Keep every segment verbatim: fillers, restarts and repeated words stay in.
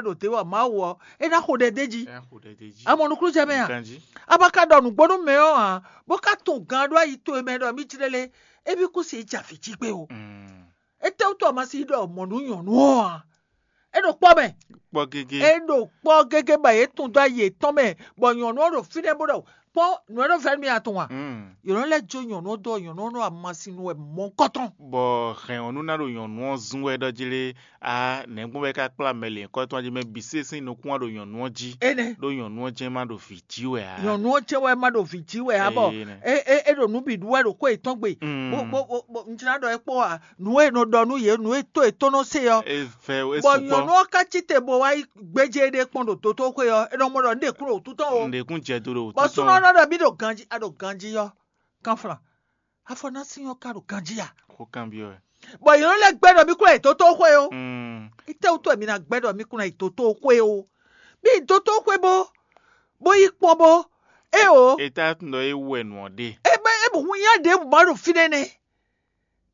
ɖo te wɔ Mawu ɔ́, é ná xo ɖɛ d'é jí. Ɛ xo ɖɛ d'é jí. A mɔ nukúnnú jɛ mɛ a? Ganjí. A ma ka ɖɔ nǔgbó nú mɛ ɔ́ ǎ, bó ka tunwun gan ɖó ayi towe mɛ ɖɔ mì jlé lé, émí kú si jɛ avǐ jí gbé o. Mm. Étɛ́wútu a ma si ɖɔ mɔ̌ nú nyɔ̌nu ɔ́ ǎ? É ɖo kpɔ́ mɛ. Kpɔ́ gégé. É ɖo kpɔ́ gégé bɔ yě tun dó ayi yětɔn mɛ, bɔ nyɔ̌nu ɔ́ ɖo fínɛ́ bó ɖɔ kpɔ́ nǔ e nɔ vɛ́ nú mì a tunwun a? Mm. Yě nɔ lɛ́ jó nyɔ̌nu ɔ́ dó ɔ́, nyɔ̌nu ɔ́ nɔ ama sin nu wɛ mɔ̌hunkɔtɔn. Bɔ hɛn ɔ́ nú ná ɖo nyɔ̌nu ɔ́ zún wɛ ɖɔ jí lé, a nɛ̌gbɔn wɛ é ká kplá mɛ lěhunkɔtɔn jí mɛ bǐ sésé nukún wá ɖo nyɔ̌nu ɔ́ jí. Énɛ́. Ɖó nyɔ̌nu ɔ́ jɛ́n má ɖo vǐ jí wɛ ǎ. Nyɔ̌nu ɔ́ jɛ́n wɛ má ɖo vǐ jí wɛ ǎ bɔ Énɛ́. É é é ɖo nǔ bǐ ɖu wɛ ɖo xwé yětɔn gbe. Mm. Bó bó bó bó un jlá ɖɔ é kpó a nǔ e è nɔ ɖɔ nú yě nǔ e tó yětɔn nɔ se ɔ́. É vɛ é bɔ sukpɔ́. Nyɔ̌nu ɔ́ ká cí te bó wá yi gbéjé ɖé kpɔ́n ɖo dotóxwé ɔ́, é nɔ mɔ ɖɔ un ɖe kún ɖo wútu tɔn o. Un ɖe kún jɛ do ɖo wútu bɔ tɔn. Súnɔ ɔ́ nɔ ɖɔ mì ɖo ganjí a ɖo ganjí ɔ́, kanflan. Afɔnásín ɔ́ ka ɖo ganjí a? Xó kanbyɔ́ wɛ. Bɔ yě nɔ lɛ́ gbɛ́ ɖɔ mì kún yi dotóxwé o. Mm. Étɛ́wútu wɛ mi ná gbɛ́ ɖɔ mì kún yi dotóxwé o? Mì yi dotóxwé bó bó yi kpɔ́n bó é o. Étɛ́wútu ɖɔ é wɛ nǔ ɔ́ ɖe. É bɛ é bɔ hun nyá ɖěbǔ ma ɖo fínɛ́ nɛ́.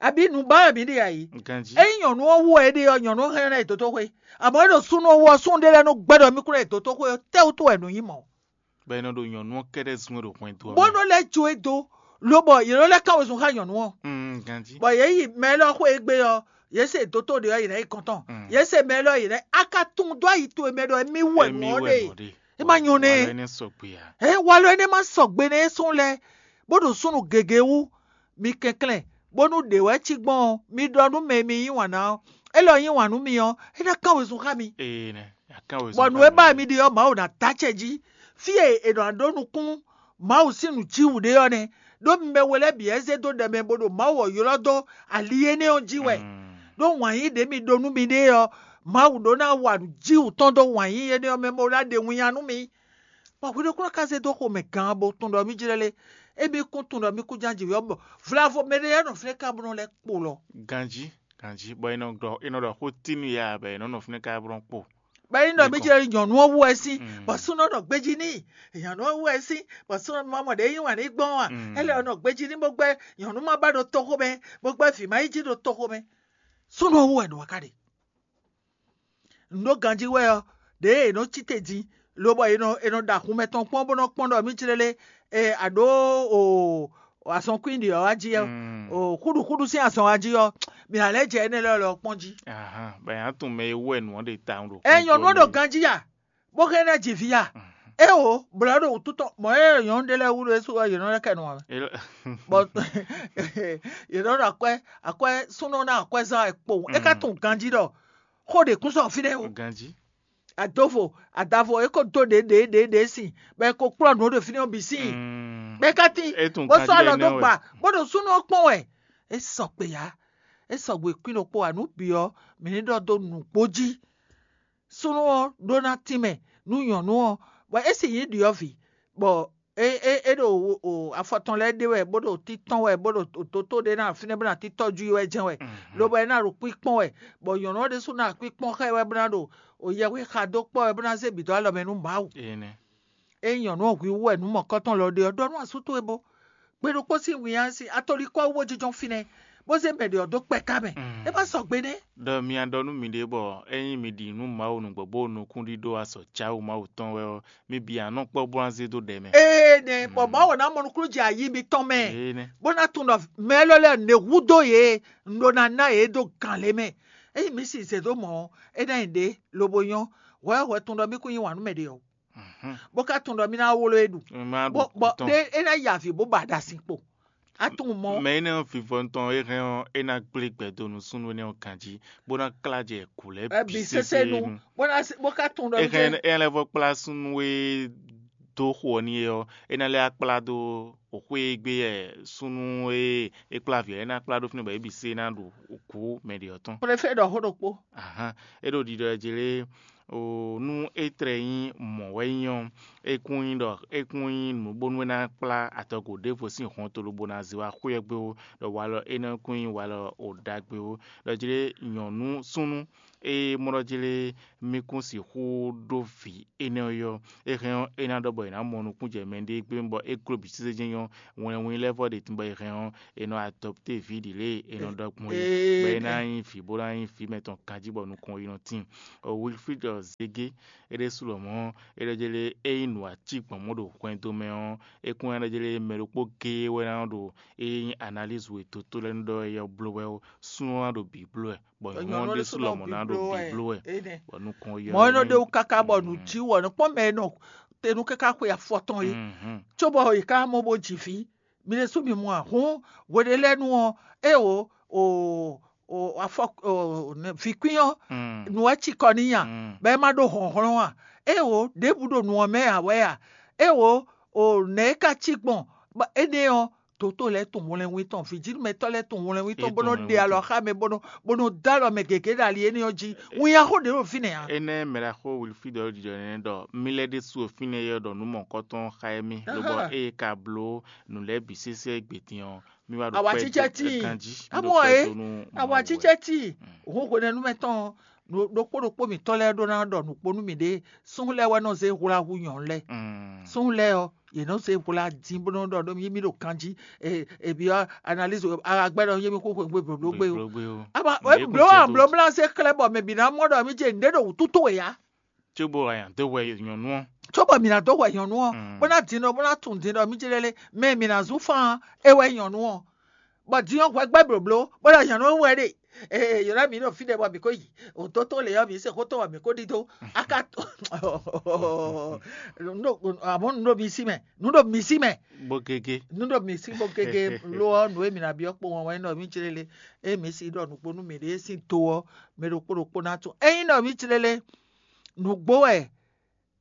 Abǐ nǔ ba wɛ mǐ ɖe a yǐ? Ganjí. Ényí nyɔ̌nu ɔ́ wú wɛ é ɖe ɔ́, nyɔ̌nu ɔ́ hɛn ná yi dotóxwé. Àmọ́ é ɖo súnnu ɔ́ wú ɔ́, súnnu ɖé lɛ́ɛ nɔ gbɛ́ ɖɔ mì kún ná yi dotóxwé ɔ́, tɛ́wútu wɛ nǔ nyí mɔ̌? Bɔ è nɔ ɖo nyɔ̌nu ɔ́ kɛ́ɖɛ́ zún wɛ ɖo hwɛndo ɔ́ Bó mɛ. Nɔ lɛ́ jó e dó, lobɔ yě nɔ lɛ́ kán wezun xá nyɔ̌nu ɔ́. Mm, ganjí. Bɔ yě yi mɛ élɔ́ xwé e gbe ɔ́, yě se dótó ɖě ɔ́, yě ná yi kɔn tɔn. Mm. Yě se mɛ élɔ́, yě ná yi. A ka tunwun dó ayi towe mɛ ɖɔ émí wɛ nǔ ɔ́ ɖe. É má nyɔ́ nɛ́. Walɔ énɛ́ sɔgbe ǎ. Ɛ walɔ énɛ́ má sɔgbe nɛ́ é sɔn lɛ́ɛ, bó ɖo súnnu gěgé wú. Mi kɛnklɛ́n, bónú ɖě wɛ cí gbɔn ɔ́, mi ɖɔ nú mɛ e mi yí wǎn ná ɔ́, é lɔ yí wǎn nú mi ɔ́, é ná kán wezun xá mi. Ee nɛ, a kán wezun Bɔ nǔ e ba mi ɖe ɔ́, Mawu ná dó acɛ jí. Fí e è nɔ ɖó nukún Mawu sín nǔjíwǔ ɖe ɔ́ nɛ́, ɖó mi mɛ we lɛ́ɛ bǐ wɛ zé dó ɖɛ mɛ bó ɖo Mawu ɔ́ ylɔ́ dó ali énɛ́ ɔ́ jí wɛ. Mm. Ɖó wǎn yí ɖě mi ɖó nú miɖée ɔ́, Mawu ɖó ná wa nǔjíwǔ tɔn dó wǎn yí énɛ́ ɔ́ mɛ bó ná ɖe winnyá nú mi. Bɔ hwiɖokúnɔ ka zé dó xomɛ gán bó tunwun ɖɔ mì jlɛ́ lé. Émí kún tunwun ɖɔ mì kún ján jǐ ɔ́, bɔ vlavo mɛɖé lɛ́ɛ nɔ flɛ́ ká bó nɔ lɛ́ kpo lɔ. Ganjí, ganjí, bɔ è nɔ ɖɔ è nɔ ɖɔ xó tínu ya bɔ è nɔ nɔ fínɛ́ ká bó nɔ kpo. Bɔ é nyí ɖɔ mì jlɛ́ nyɔ̌nu ɔ́ wú wɛ sín, Mm. bɔ súnɔ nɔ gbéjí n'i. Nyɔ̌nu ɔ́ wú wɛ sín, bɔ súnɔ ma mɔ ɖě yí wǎn ní gbɔn a? Mm. É lɛ nɔ gbéjí ní bó gbɛ́ nyɔ̌nu ma ba ɖo toxo mɛ, bó gbɛ́ vǐ ma yí jí ɖo toxo mɛ. Súnɔ ɔ́ wú wɛ nǔ wá ká ɖe. Un ɖó ganjí wɛ ɔ́, ɖěe è nɔ cí te din, lobɔ è nɔ è nɔ ɖo axunmɛ tɔn kpɔ́n bó nɔ kpɔ́n ɖɔ mì jlɛ́ lé, e a ɖǒ o azɔn kwín ɖě ɔ́ wá jí ɔ́, Mm. o xúɖuxúɖu sín azɔn wá jí ɔ́, mǐ ná lɛ́ jɛ énɛ́ lɛ́ɛ lɔ kpɔ́n jí. Ahan, bɔ yě ná tunwun mɛ e wú wɛ nǔ ɔ́ ɖe tawun ɖo Ɛ nyɔ̌nu ɔ́ ɖo ganjí ya, bó hɛn ná ji vǐ ya. É o, blɔ̌ ɖo wútu tɔn, mɔ̌ é nyɔ̌nu ɖé lɛ́ɛ wú ɖo é su ɔ́, yě nɔ lɛ́ kɛ nɔ ǎ. Bɔ yě nɔ ɖo akwɛ́ akwɛ́ súnnu ná akwɛ́ zán wɛ kpowun. É ka tunwun ganjí ɖɔ xó ɖě kún sɔ́ fínɛ́ o. Ganjí. Adovo, adavo, é ko dó ɖě ɖě ɖě ɖě sin, bɔ é ko kplɔ́ nǔ ɖo fínɛ́ ɔ́ bǐ sin. Mm. Bɔ é ka tín, É tunwun bó sɔ́ ganjí alɔ ɖé dó nɛ́ wɛ. Gba, bó ɖo súnnu ɔ́ kpɔ́n wɛ. É sɔ kpe ya, é sɔgbe kwín ɖokpó ǎ, nǔ bǐ ɔ́, mǐ ní ɖɔ dó nǔgbó jí. Súnnu ɔ́ ɖó ná tínmɛ nú nyɔ̌nu ɔ́, bɔ é sì nyí ɖyɔ̌vǐ, bɔ é é é ɖo o afɔ tɔn lɛ́ɛ ɖe wɛ, bó ɖo títɔn wɛ, bó ɖo dotó ɖé ná fínɛ́ bó ná títɔ́ ju wɛ jɛ́n wɛ, Mhm. lobo é ná ɖo kpíkpɔ́n wɛ, bɔ nyɔ̌nu ɔ́ ɖésú ná kpíkpɔ́n xá ɛ wɛ bó ná ɖo o yɛhwexa dó kpɔ́ wɛ bó ná zé bǐ dó alɔ mɛ nú Mawu. Énɛ́. Ényí nyɔ̌nu ɔ́ hwíhú wɛ nǔ mɔ̌kɔtɔn lɔ ɖe ɔ́, ɖɔ nú asú towe bó. Gbe ɖokpó sín winnyá sín atɔ́líkɔ ɔ́ wú bó jínjɔ́n fínɛ́, bó zé mɛ ɖě ɔ́ dó kpɛ́ ká mɛ. Mm. É ma sɔgbe nɛ́. Ɖɔ mi ɖɔ nú miɖée bɔ ényí mi ɖi nǔ Mawu nǔgbó bó nukúnɖíɖó azɔ̌ Jǎwu Mawu tɔn wɛ ɔ́, mi bǐ ná nɔ kpɔ́ bó ná zé dó ɖɛ mɛ. Ee nɛ, bɔ Mawu ná mɔ nukúnnú jɛ ayi mitɔn mɛ, Ee nɛ. bó ná tunwun ɖɔ mɛ élɔ́ lɛ́ɛ ně húdó yě, un ɖó ná ná yě dó gǎn lě mɛ. Ényí mi sì zě dó mɔ̌ ɔ́, é ná nyí ɖě lobo nyɔ́. Hwɛ hwɛ tunwun ɖɔ mí kún yí wǎn nú mɛ ɖě ɔ́, Mhm. bó ka tunwun ɖɔ mí ná wló é ɖu. Mi ma ɖu Bó bɔ kú tɔn. Ɖé é ná yi avǐ bó ba ɖa sin kpo. A tunwun mɔ̌. Mɛ énɛ́ ɔ́ vivɔnu tɔn é hɛn ɔ́, é ná gblé gbɛ dó nú súnnu énɛ́ ɔ́ ganjí, bó ná klá jɛ kǔ lɛ́ɛ Ɛ bǐ bǐ sésé sésé nu, nu. Bó ná bó ka tunwun ɖɔ É mí hɛn jɛ é lɛ́ vɔ kplá súnnu e dó xo ɔ́ n'i é ɔ́, é ná lɛ́ wá kplá dó xwé e gbé wɛ súnnu e é kplá vǐ ɔ́, é ná kplá ɖó fínɛ́ bɔ é bǐ sé ná ɖu kǔ mɛ ɖě ɔ́ tɔn. Préfé ɖɔ xó ɖokpó. Ahán, é ɖo ɖiɖɔ ɛ jí lé, o nú é tlɛ nyí mɔ̌ wɛ nyí ɔ́, é kún nyí ɖɔ é kún nyí nǔ bónú é ná kplá adɔgo ɖěvo sín hɔnto lobo ná zé wá xwé ɔ́ gbé ó, ɖɔ walɔ énɛ́ kún nyí walɔ o ɖagbe ó. Ɖɔ jí lé nyɔ̌nu súnnu Ée mɔ ɖɔ jlé mì kún sixú ɖó vǐ énɛ́ ɔ́ yɔ́, é hɛn ɔ́, é ná ɖɔ bɔ è nǎ mɔ nukúnjɛ mɛɖée gbé bɔ é gló bǐ sésé jɛ́n nyɔ́. Wɛnwín lɛ́ɛ vɔ ɖe tun bɔ è hɛn ɔ́, è nɔ adɔpté vǐ ɖi lě e è nɔ ɖɔ gbɔn é, bɔ é ná nyí vǐ bó ná nyí vǐ mɛtɔn ganjí bɔ nukɔn yi nɔ tíin. Wilfrid Zege, é ɖésú lɔmɔ̌ é ɖɔ jlé é nyí nǔ ací gbɔn mɔ̌ ɖo hwɛndo mɛ ɔ́, é kún ná ɖɔ jlé mɛ ɖokpó géé wɛ ná ɖo é nyí analízu e dotó lɛ́ɛ nɔ ɖɔ é ɔ́ bló wɛ ó, súnnu ɔ́ ná ɖo bǐ bló wɛ. Bɔ nyɔ̌nu ɔ́ ɖésú lɔmɔ̌ ná ɖo bǐ bló wɛ, bɔ nukɔn yi mɔ̌ é nɔ ɖe wú káká bɔ nǔ jí wɔ nɔ kpɔ́n mɛ e nɔ te nú káká xwe afɔ tɔn é, cóbɔ è ká mɔ bó ji vǐ. Mi ɖésú mi mɔ a? Hǔn hweɖé lɛ́ɛ nu ɔ́, é o o o afɔ o nɛ- vǐkwín ɔ́, nǔ wɛ cikɔ n'i a? Bɔ é má ɖó hlɔ̌nhlɔ́n a? É o, ɖěbǔ ɖo nǔ ɔ́ mɛ ǎ wɛ a? É o o nɛ̌ é ka cí gbɔn? Bɔ énɛ́ ɔ́, dǒtó lɛ́ɛ tunwun wlɛnwín tɔn, vǐjínúmɛtɔ́ lɛ́ɛ tunwun wlɛnwín tɔn, bó nɔ́ ɖe alɔ xá mɛ, bó nɔ́ bó nɔ́ dó alɔ mɛ gěgé ɖo ali énɛ́ ɔ́ jí. Winnyá xó ɖě ɖo fínɛ́ ǎ. Énɛ́ mɛ ɖaxó Wilfrídɔ ɔ́ ɖiɖɔ énɛ́ ɖɔ mì lɛ́ ɖésú o fínɛ́ é ɔ́ ɖɔ nǔ mɔ̌kɔtɔn xá émí, lobɔ ée ka bló nǔ lɛ́ɛ bǐ sésé gbědín ɔ́, mì wá ɖo Awǎ kpɛ cícɛ́ dó tíin. Ganjí, mì ɖo Amɔ kpɛ é, dó nú awǎ Mawu wɛ. Cícɛ́ tíin. Hǔn hwenɛ́nu mɛ tɔn ɔ́, ɖokpó ɖokpó mǐtɔn lɛ́ɛ ɖó ná ɖɔ nǔkpó nú mǐɖée. Súnnu lɛ́ɛ wɛ nɔ zé hwlá hú nyɔ̌nu lɛ́ɛ. Súnnu lɛ́ɛ ɔ́, yě nɔ zé hwlá dín bó nɔ́ ɖɔ ɖó mì mí ɖo ganjí. Ebyɔ́ analyse agbɛ́ ɖɔ yé mí xó xweyǐgbe blǒbló gbé o. Blǒbló gbé o. Aba Nǔ e blǒ kún ǎ, cɛ dó blǒ mlá zé xlɛ́ bɔ mɛ bǐ ná mɔ ɖɔ mí ce nǔɖé ɖo wǔtu towe ǎ. Cóbɔ a nǎ dó hwɛ nyɔ̌nu ɔ́. Cóbɔ mǐ ná dó hwɛ nyɔ̌nu ɔ́, bó ná din ɖɔ bó ná tunwun din ɖɔ mí ce lɛ́ lé mɛ mǐ ná zún fán ɔ́, é wɛ nyí nyɔ̌nu ɔ́. Bɔ din ɔ́ hwɛ gbɛ́ blǒbló, bó ɖɔ nyɔ̌nu ɔ́ wɛ ɖe. Ee, yǒná mǐ ɖo fínɛ́ bɔ mǐ ko yi. Òtótó lě ɔ́, mǐ se xó tɔn bɔ mǐ ko ɖidó. A ka amɔ̌ nǔ ɖo mi sí mɛ, nǔ ɖo mi sí mɛ. Bó gégé. Nǔ ɖo mi sí bó gégé lo ɔ́, nǔ e mǐ ná byɔ́ kpowun ɔ́ wɛ nyí ɖɔ mí ce lɛ́ lé. Ée mǐ si ɖɔ nǔgbó nú mǐɖée sín to ɔ́, mɛ ɖokpó ɖokpó ná tunwun. Ényí ɖɔ mǐ ce lɛ́ lé, nǔgbó wɛ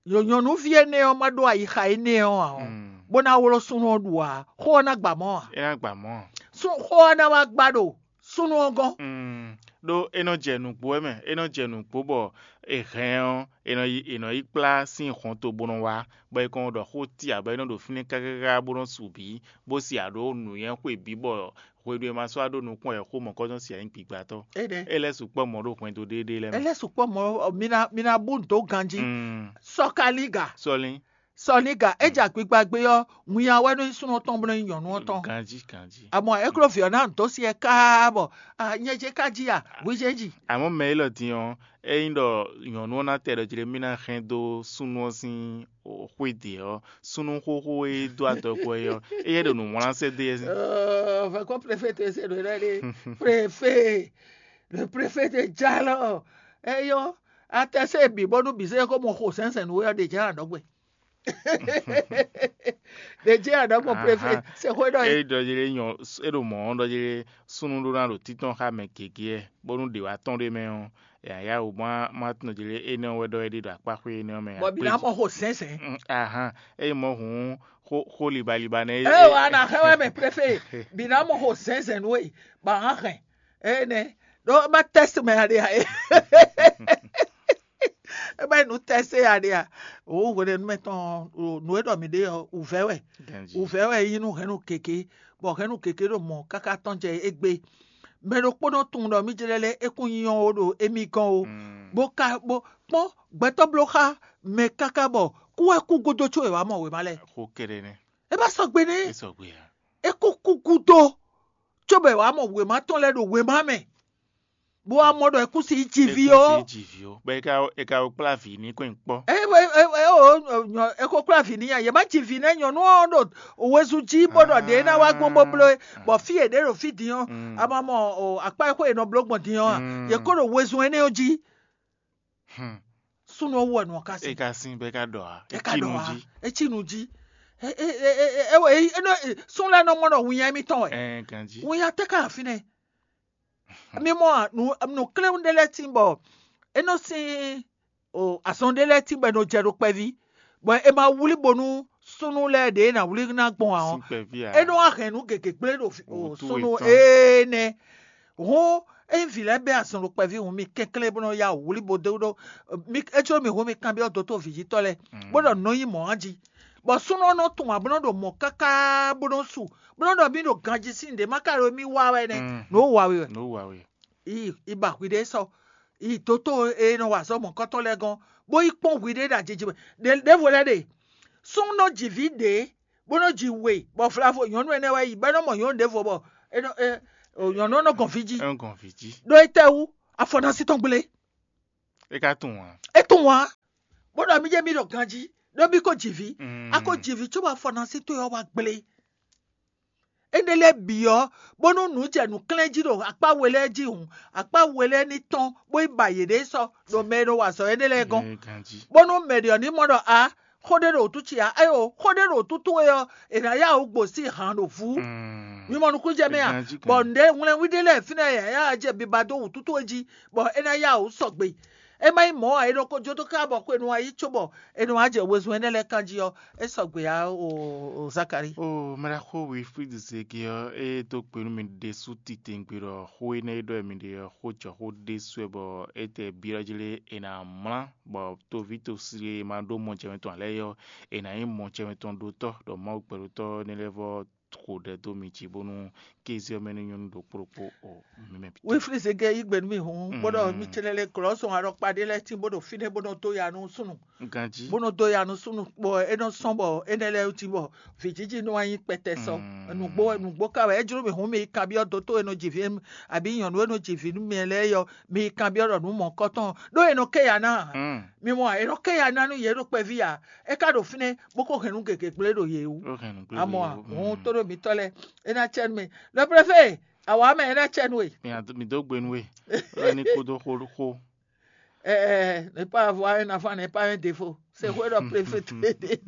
nyɔ̌nuví énɛ́ ɔ́ ma ɖó ayixa énɛ́ ɔ́ ǎ ɔ́, bó ná wló súnnu ɔ́ ɖu ǎ, xó ɔ́ ná gba mɔ̌ ǎ. É ná gba mɔ̌ ǎ. Xó ɔ́ ná wá gba ɖo súnnu ɔ́ gɔ́n. Ɖó é nɔ jɛ nǔgbó wɛ mɛ, é nɔ jɛ nǔgbó bɔ è hɛn ɔ́, è nɔ yi è nɔ yi kplá sín hɔnto bó nɔ wá, bɔ è kɔn ɖɔ xó ti ǎ, bɔ é nɔ ɖo fínɛ́ káká bó nɔ su bǐ, bó si aɖǒ nǔnywɛ́ xwe bǐ bɔ hwenu e ma sɔ́ wá ɖó nukún wɛ xó mɔ̌kɔ́tɔn se ǎ nyí gbigbatɔ́. Énɛ́. É lɛ́ sukpɔ́ mɔ̌ ɖo hwɛndo ɖéeɖée lɛ́ɛ mɛ. É lɛ́ sukpɔ́ mɔ̌, mi ná mi ná bú nǔ dó ganjí. Mm. Sɔkaliga. Sɔlí. Sɔliga, é jɛ agbigba gbé ɔ́, winnya wɛ nɔ nyí súnnu tɔn bó nɔ nyí nyɔ̌nu ɔ́ tɔn. Ganjí, ganjí. Àmọ́ é kló vǐ ɔ́ ná nǔ dó sí ɛ káá bɔ ah, nyɛ jɛ ká jí a, hwi jɛ jí. Àmọ́ mɛ élɔ́ din ɔ́, ényí ɖɔ nyɔ̌nu ɔ́ ná tɛ ɖɔ jlé mì ná hɛn dó súnnu ɔ́ sín xwé ɖě ɔ́, súnnu xóxó e dó adɔgo ɛ ɔ́, éyɛ́ ɖo nǔ wlán sɛ́ dó yɛ sín. Vɛkɔ préfet ese ɖo ɖɔ ɖe préfet le préfet de jalɔ eyɔ atɛsɛ bi bɔnu bi se ko mɔ xo sɛnsɛn nu yɔ de jɛ anɔgbe de jɛ anɔgbe préfet se xo dɔ é yi. Ɖɔ yɛ nyɔ é ɖo mɔ̌ ɖɔ yɛ súnnu ɖó ná ɖo títɔn xá mɛ gěgé ɛ bónú ɖě wá tɔn ɖé mɛ ɔ́, yǎyá wò má má tɔn jlé énɛ́ wɛ ɖɔ é ɖi ɖo akpá xwé énɛ́ mɛ. Bɔ bi ná mɔ xo sɛnsɛn. Ahan, eye mɔ hǔn xó xó libaliba nɛ. Eye wa na xɛ wɛ mɛ préfet bi ná mɔ xo sɛnsɛn nú é ba hàn hɛn ene ɖo ma tɛst mɛ aɖe a e. Ebe nu tɛst aɖe a o hwenɛnu mɛ tɔn nú e ɖɔ mi ɖe ɔ wǔvɛ wɛ. Wǔvɛ wɛ yí nú hɛnnu keke bɔ hɛnnu keke ɖo mɔ káká tɔn jɛ égbé. Mɛ ɖokpónɔ tunwun ɖɔ mí jlɛ́ lɛ́ é kún nyɔ́ ó ɖo émí gɔ́n ó, bó ka bó kpɔ́n gbɛtɔ́ bló xá mɛ káká bɔ kú wɛ kú gúdo có è wǎ mɔ wěma lɛ́ɛ. Xó kɛɖɛ nɛ́. É bá sɔgbe nɛ́. É sɔgbe ǎ. É kú kú gúdo cóbɔ è wǎ mɔ wěma tɔn lɛ́ɛ ɖo wěma mɛ, bó wá mɔ ɖɔ é kú sí jiví ó. Jiví ó. Bɔ é ka é ka kplá vǐ ní kɔn kpɔ́. É é é é o é ko kplá vǐ ní ya, yě má ji vǐ nɛ́ nyɔ̌nu ɔ́ ɖo wezun jí bó ɖɔ ɖě ná wá gbɔn bó bló é, bɔ fí e ɖě ɖo fí din ɔ́, a ma mɔ akpá e xó è nɔ bló gbɔn din ɔ́ a? Yě kó ɖo wezun énɛ́ ɔ́ jí. Súnnu ɔ́ wú wɛ nɔ ká É sin. Ka sin bɔ é ka ɖɔ ǎ. É ka ɖɔ wá, é cí nu jí. É é é é é é é nɔ sún lɛ́ɛ nɔ mɔ ɖɔ winnya émítɔn wɛ. Ɛ ganjí. Winnya tɛ ka fínɛ́. Mi mɔ a, nu nu kléwún ɖé lɛ́ɛ tín bɔ é nɔ sín o azɔn ɖé lɛ́ɛ tín bɔ é nɔ jɛ ɖo kpɛví, bɔ é ma wlí bónú súnnu lɛ́ɛ ɖě ná wlí ná gbɔn ǎ ɔ́, Sín kpɛví ǎ. É nɔ wá hɛn nǔ gěgé gblé ɖo Wǔtu súnnu yětɔn. Énɛ́. Hǔn ényí vǐ lɛ́ɛ bɛ́ azɔn ɖo kpɛví hǔn mi kɛnklɛ́n bó nɔ yá wǔ wlí bó dó ɖó mi é có mi hǔn mi kanbyɔ́ dotó vǐjítɔ́ lɛ́ɛ, bó ɖɔ nǔ nɔ nyí mɔ̌ á jí. Bɔ súnnu ɔ́ nɔ tunwun ǎ bó nɔ ɖo mɔ̌ káká bó nɔ su, bó nɔ ɖɔ mì ɖo ganjí sín nǔɖé ma ka ɖo mì wa wɛ nɛ́, Mm. nǔ ó wa we wɛ. Nǔ wa we. Yi yi ba hwi ɖé sɔ. yi dǒtó e nɔ wa azɔ̌ mɔ̌kɔtɔn lɛ́ɛ gɔ́n, bó yi kpɔ́n hwi ɖé ɖo ajiji mɛ. Ɖěvo lɛ́ɛ ɖe, súnnu nɔ ji vǐ ɖě, bó nɔ ji we, bɔ vlavo nyɔ̌nu énɛ́ wɛ yi, bɔ é nɔ mɔ nyɔ̌nu ɖěvo bɔ é nɔ é, o, nyɔ̌nu ɔ́ nɔ gɔn fí jí. É nɔ gɔn fí jí. Ɖó étɛ́wú? Afɔnasi tɔn gblé. É ka tunwun ǎ. É tunwun ǎ. Bó ɖɔ mí jɛ mí ɖɔ ganjí, ɖó mí ko ji vǐ. Mm. A ko ji vǐ cóbɔ afɔnasi towe ɔ́ wá gblé. Énɛ́ lɛ́ɛ bǐ ɔ́, bónú nǔ jɛ nǔklɛ́n jí ɖo akpá we lɛ́ɛ jí hǔn, akpá we lɛ́ɛ ní tɔ́n, bó yi ba yěɖée sɔ́ ɖo mɛ e nɔ wa azɔ̌ énɛ́ lɛ́ɛ gɔ́n. Bónú mɛ ɖě ɔ́ ní mɔ ɖɔ a xó ɖé ɖo wǔtú ce ǎ, éyo xó ɖé ɖo wǔtú towe ɔ́, è nǎ yá wǔ gbo sín han ɖo vú. Mi mɔ nukúnnú jɛ mɛ a? Bɔ nǔɖé hwlɛ́nwí ɖé lɛ́ɛ fínɛ́ yǎyá jɛ biba dó wǔtú towe jí, bɔ é ná yá wǔ sɔgbe. É má nyí mɔ̌ ǎ, è nɔ ko jó dó ká bɔ xwenu ɔ́ yi cóbɔ è nɔ wá jɛ wezun énɛ́ lɛ́ɛ kan jí ɔ́, é sɔgbe ǎ o Zakalíi. O mɛɖaxó Wilfrid Zege ɔ́, é dó gbe nú mi ɖésú titewungbe ɖɔ xó énɛ́ e ɖɔ mi ɖe ɔ́, xó jɔ xó ɖésú wɛ bɔ é tɛ byɔ́ jlé è nǎ mlá, bɔ toví tosí e ma ɖó mɔjɛmɛ tɔn ǎ lɛ́ɛ é ɔ́, è nǎ nyí mɔjɛmɛ tɔn ɖótɔ́, ɖɔ Mawu gbɛɖótɔ́ énɛ́ lɛ́ɛ vɔ́ xo ɖɛ dó mi jí bónú kéze ɔ́ mɛ ní nyɔ́ nú ɖokpó ɖokpó o mi mɛ bǐ. Weflíze gɛ́ yí gbe nú mì hǔn, bó ɖɔ mì ce lɛ́ lɛ́ glɔ̌ sɔn alɔkpa ɖé lɛ́ɛ tín bó ɖo fínɛ́ bó nɔ dó ya nú súnnu. Ganjí. Bó nɔ dó ya nú súnnu bɔ é nɔ sɔn bɔ énɛ́ lɛ́ɛ jí bɔ vǐjiji nɔ wá nyí kpɛtɛ sɔ. Nǔgbó nǔgbó ka wɛ é jló mì hǔn mi yi kanbyɔ́ dótó e nɔ ji vǐ abǐ nyɔ̌nu e nɔ ji vǐ nú mi lɛ́ɛ yɔ, mi yi kanbyɔ́ ɖɔ nǔ mɔ̌kɔtɔn ɖó è nɔ ké ya ná ǎ. Mi mɔ ǎ, è nɔ ké ya ná nú yě ɖo kpɛví ǎ. É ka ɖo fínɛ́ bó ko hɛn nú gěgé gblé ɖo yě wú. Amɔ ǎ, hǔn tó ɖo mǐtɔn lɛ́ɛ, é ná cɛ nú mì. Le préfet, awǎ mɛ é ná cɛ nú we. Mi dó gbe nú we, lɔ ní kúdó xó xó. Ɛɛ, ne pas avoir un enfant n'est pas un défaut. C'est quoi le préfet te dire?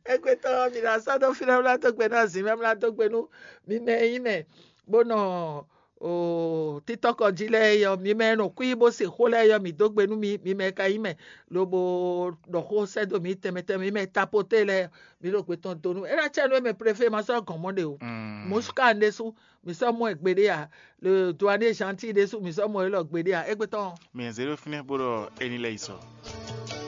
Égbétɔ́ mi la sɔ́ dó fínɛ́ mlá dó gbe nú azǐn mɛ mlá dó gbe nú mi mɛ e nyí mɛ bó nɔ o títɔ́kɔ jí lɛ́ɛ yɔ mi mɛ nɔ kú yí bó se xó lɛ́ɛ yɔ mi dó gbe nú mi mi mɛ ka nyí mɛ lobo ɖɔ xó sɛ́ dó mi tɛnmɛ tɛnmɛ mi mɛ tapoté lɛ́ɛ mi ɖo gbe tɔn dó nú é ná cɛ nú é mɛ préfet ma sɔ́ gɔn mɔ ɖe o. Mouchka ɖésú mi sɔ́ mɔ ɛ gbeɖé a, le douanier gentil ɖésú mi sɔ́ mɔ ɛ lɔ gbeɖé a égbétɔ́. Mi zé ɖó fínɛ́ bó ɖɔ é ní lɛ́ yi sɔ.